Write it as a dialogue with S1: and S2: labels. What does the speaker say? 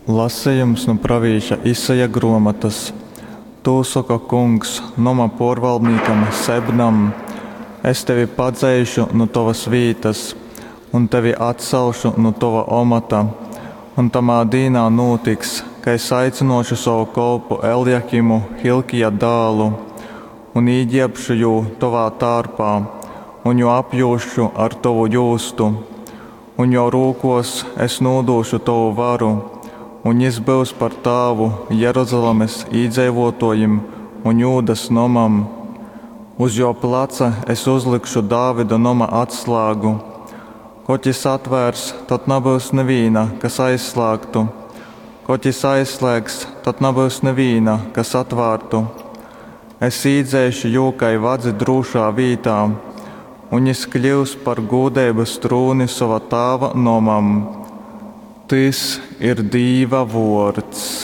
S1: Lasejums nu pravīša Isaja gruomotys. Tū soka Kungs noma puorvaldnīkam Sebnam, Es tevi padzeišu nu tovys vītys un tevi atcelšu nu tova omota. Un tamā dīnā nūtiks, ka es aicynuošu sovu kolpu Eljakimu, Hilkija dālu, un īgierbšu jū tovā tārpā un jū apjūzšu ar tovu jūstu. Un juo rūkuos es nūdūšu tovu varu, un jis byus par tāvu Jeruzalemes īdzeivuotuojim un Jūdas nomam. Uz juo placa es uzlikšu Dāvida noma atslāgu. Kod jis atvērs, tod nabyus nivīna, kas aizslāgtu, kod jis aizslēgs, tod nabyus nivīna, kas atvārtu. Es īdzeišu jū kai vadzi drūšā vītā, un jis kļyus par gūdeibys trūni sova tāva nomam. Tys ir Dīva vuords.